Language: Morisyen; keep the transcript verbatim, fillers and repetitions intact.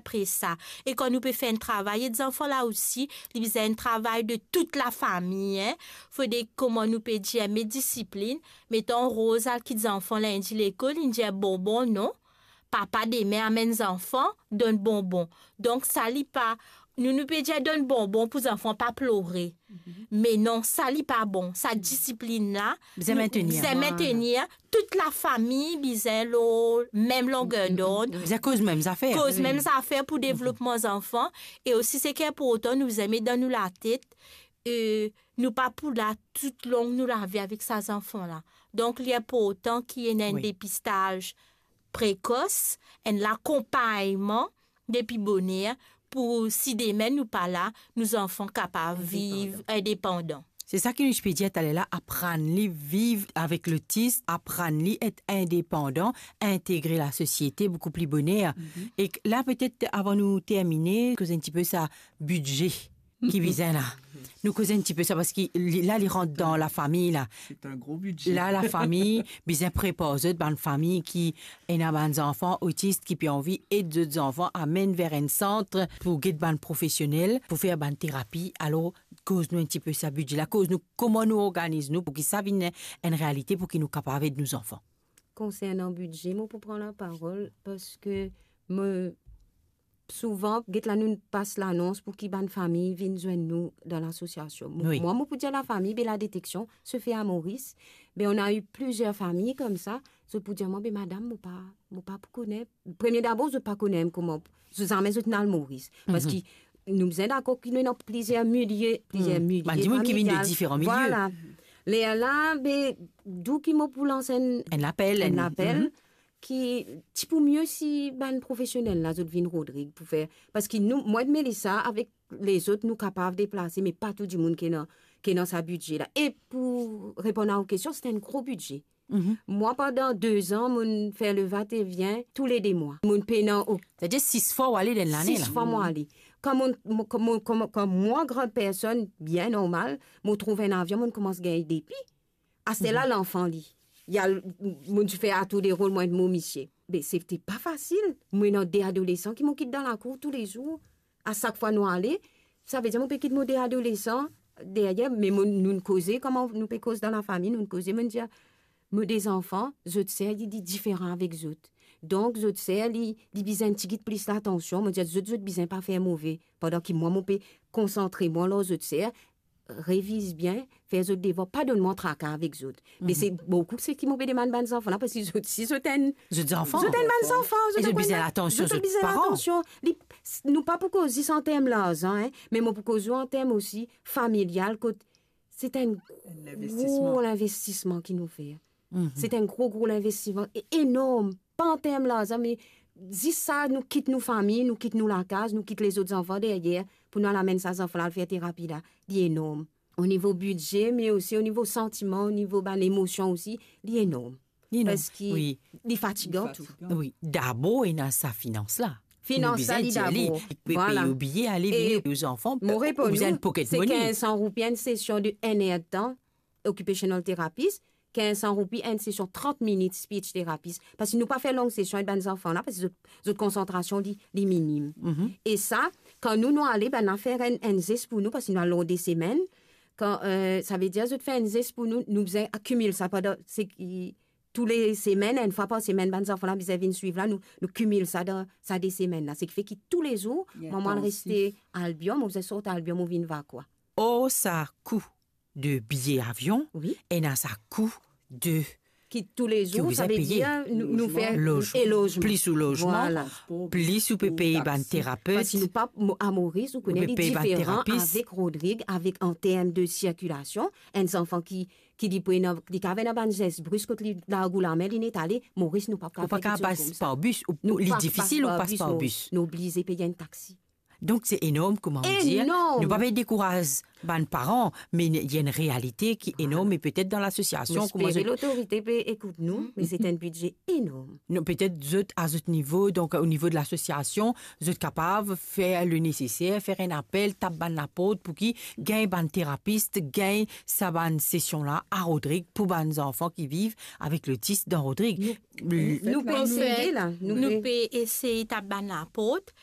pre sa. E kan nou pe fer enn travay, e zanfan la osi, li bizin enn travay de tout lafami, en. Fode, kouma nou pe dir, met disiplin, met an roz, al kit zanfan lindi lekol, li dir bonbon, non. Papa demin amenn zanfan, donn bonbon. Donk, sa li pa, nou, nou pe dir donn bonbon pou zanfan pa plore. Me non, sa li pa bon. Sa disiplin la, bizin nou, mentenir. Bizin mentenir. Tout lafami bizin lor mem longer dond. Bizin koz mem zafer. Koz mem zafer pou devlopman zanfan. E osi, seki inportan, nou bizin met dan nou latet, e, nou pa pou la toutlong nou lavi avek sa zanfan la. Donk, li inportan ki ena enn depistaz prekos, enn lakonpagnman depi boner, pou si demin nou pa la, nou zanfan kapav viv indepandan. Se sa ki nou ti pe dir taler la, aprann li viv avek lotis, aprann li et indepandan, integre lasosiete boukou pli boner. E la, petet avan nou termine, koz enn tipe sa bidze ki bizin la. Nou koz enn tipe sa, parski li, la, li rant dan lafami la. C'est un gros budget. La, lafami bizin prepar zot, bann fami ki ena bann zanfan otis ki pe anvi ed zot zanfan, amenn ver enn sant pou get bann profesionel, pou fer bann terapi. Alor, koz nou enn tipe sa bidze la, koz nou kouma nou organiz nou pou ki sa vinn enn realite, pou ki nou kapav ed nou zanfan. Konsernan bidze, mo pou pran laparol, parski mo, souvan, get la, nou pas lanons pou ki bann fami vinn zwenn nou dan lasosiasion. Mo, wi, mwa, mo pou dir lafami, be la détection se fait à Maurice. Be, on a eu plusieurs familles comme ça. Zot pou dir mwa, be madam, mo pa, mo pa pou kone. Premie dabor, zot pa kone kouma, zot zame zot inn al Moris. Parski nou bizin dakor ki nou ena plizier milie, plizier milie famial. Bann dimoun ki vinn de diferan milie. Vwala. Lerla, be, dou ki mo pou lans enn, enn lapel, enn lapel, ki ti pou mie si bann profesionel la, zot vinn Rodrig pou fer. Parski nou, mwa ek Melissa, avek lezot, nou kapav deplase, me pa tou dimoun ki ena, ki ena sa bidze la. E pou reponn a ou kestion, se enn gro bidze. Mwa, pandan de zan, mo'nn fer le va-et-vient toule de mwa. Mo'nn pena o- Setadir sis fwa ou ale dan lane la. Sis fwa mo ale. Kan mo, mo, kan mo, kan mo, kan mwa, gran personn, bien normal, mo trouv enn avion, mo'nn koumans gagn depi. Aster la, lanfan li, li al, mo'nn ti fer atour de rol, mwa ek mo misie. Be, se te pa fasil. Mo ena de adolesan ki mo kit dan lakour toulezour. A sak fwa nou ale, savedir mo pe kit mo de adolesan deryer, me mo, nou'nn koze, kouma nou pe koz dan lafami, nou'nn koze, mo'nn dir, mo de zanfan, zot ser, li, li diferan avek zot. Donk, zot ser, li, li bizin tigit plis latansion. Mo dir zot, zot bizin pa fer move, pandan ki mwa, mo pe konsantre mwa lor zot ser, reviz bien, fer zot devwar, pa donn mwa traka avek zot. Me se boukou seki mo pe demann bann zanfan la, parski zot, si zot enn, zot zanfan, zot enn bann zanfan, zot bizin latansion, zot bizin latansion. Li, nou pa pou koz zis an term larzan, en, me mo pou koz ou an term osi familial, kot se enn gro linvestisman ki nou fer. Se enn gro, gro linvestisman e enorm. Pa an term larzan, me zis sa, nou kit nou fami, nou kit nou lakaz, nou kit lezot zanfan deryer, pou nou al amenn sa zanfan la al fer terapi la, li enorm. O nivo bidze, me osi o nivo santiman, o nivo bann emosion osi, li enorm. Li enorm, wi. Parski li fatigan tou. Wi, dabor ena sa finans la. Finans la, li dabor. Li pe pey ou biye, ale vini, ou zanfan, mo reponn ou, se kinz san roupi enn sesion de enn er de tan, occupational therapist, kinz san roupi enn sesion trant minit speech therapist. Parski nou pa fer long sesion ek bann zanfan la, parski zot, zot konsantrasion li, li minim. E sa, kan nou, nou ale, bann la fer enn, enn zes pou nou, parski nou al lor de semenn. Kan, eh, savedir zot fer enn zes pou nou, nou bizin akimil sa pandan, seki, toule semenn, enn fwa par semenn, bann zanfan la bizin vinn swiv la, nou, nou kimil sa dan sa de semenn la. Seki fer ki toulezour, mwa, mo al reste Albion, mo bizin sort Albion, mo vinn Vacoas. Or, sa kou de biye avion, wi, ena sa kou de ki toulezour, ki ou bizin peye. Savedir nou, nou fer lozman. E lozman. Plis ou lozman, vwala, plis ou pe pey bann terapet. Parski nou pa, mo-, a Moris, ou kone, li diferan avek Rodrig, avek an term de sirkilasion. Enn zanfan ki, ki li pou ena, li kapav ena bann zes bris kot li larg ou lame, li net ale, Moris, nou pa kapav fer kiksoz koumsa. Ou pa kapav pas par bis, ou, li difisil ou pas par bis. Nou oblize pey enn taxi. Donk, se enorm, kouma ou dir. Enorm. Nou pa pe dekouraz bann paran, me ena enn realite ki enorm, e petet dan lasosiasion, kouma zot... Mo espere lotorite pe ekout nou, me se enn bidze enorm. Non, petet zot, a zot nivo, donk, o nivo de lasosiasion, zot kapav fer le neseser, fer enn apel, tap bann laport pou ki gagn bann terapis, gagn sa bann sesion la a Rodrig pou bann zanfan ki viv avek lotis dan Rodrig. Nou, nou pe eseye la, nou pe eseye tap bann laport.